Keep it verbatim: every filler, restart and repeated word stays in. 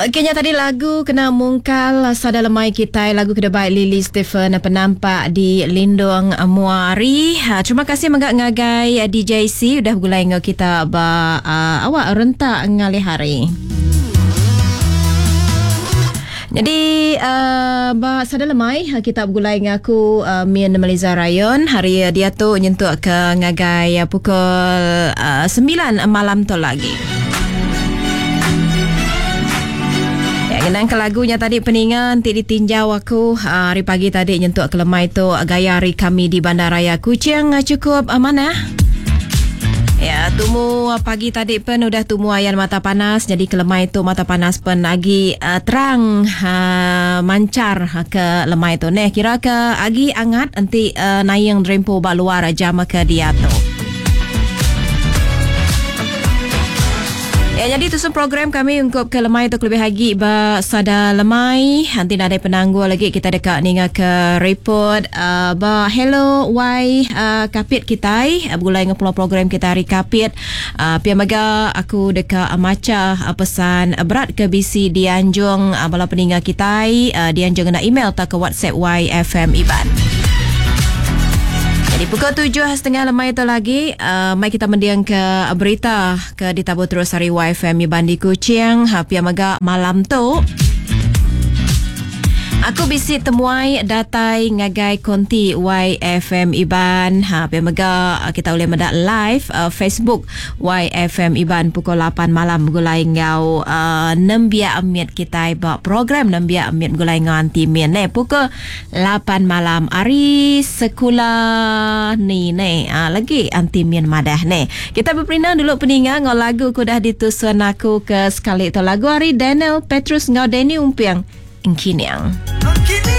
Okey, nya tadi lagu kena mungkal sada lemai kita, lagu kedebai Lily Stephen penampak di Lindung Muari. Ha, terima kasih mega ngagai D J C udah begulai ngau kita ba uh, awak rentak ngalih hari. Jadi uh, ba sada lemai kita begulai dengan aku uh, Mian Meliza Rayon. Hari dia tu nyentuk ke ngagai pukul uh, sembilan malam tu lagi. Ngenang ke lagunya tadi peningan ti ditinjau aku hari pagi tadi nyentuk ke lemai tu gaya hari kami di Bandaraya Kuching cukup mana? Ya, tumu pagi tadi pen udah tumu ayan mata panas, jadi ke lemai tu mata panas pen lagi uh, terang uh, mancar ke lemai tu. Neh kira ke agi angat enti uh, nayang drempo ba luar jam ke dia tu. Ya, jadi tusun program kami untuk ke lemai tu lebih lagi ba sada lemai. Nanti ada penangguh lagi kita dekat ninga ke report uh, ba Hello Y uh, Kapit kita uh, begulai dengan program kita hari Kapit. Uh, pia mega aku dekat uh, maca uh, pesan uh, berat ke B C dianjung uh, bala peninga kita uh, dianjung kena email atau ke WhatsApp Y F M Iban. Jadi pukul tujuh setengah lemai itu lagi, uh, mai kita mendiang ke berita ke ditabur terus hari Y F M Iban di Kuching. Ha, pia mega malam tu aku bisi temuai datai ngagai konti Y F M Iban. Ha, pia mega kita boleh mendak live uh, Facebook Y F M Iban pukul lapan malam gulai ngau uh, nembiak amit kita ba program nembiak amit gulai ngau anti min ne pukul lapan malam hari sekolah ni ne. Ha, lagi anti min madah ne. Kita berperinang dulu peninga ngau lagu ku dah ditusun aku ke sekali tu lagu hari Daniel Petrus ngau Danny Umpiang. Engkiniang. Engkiniang.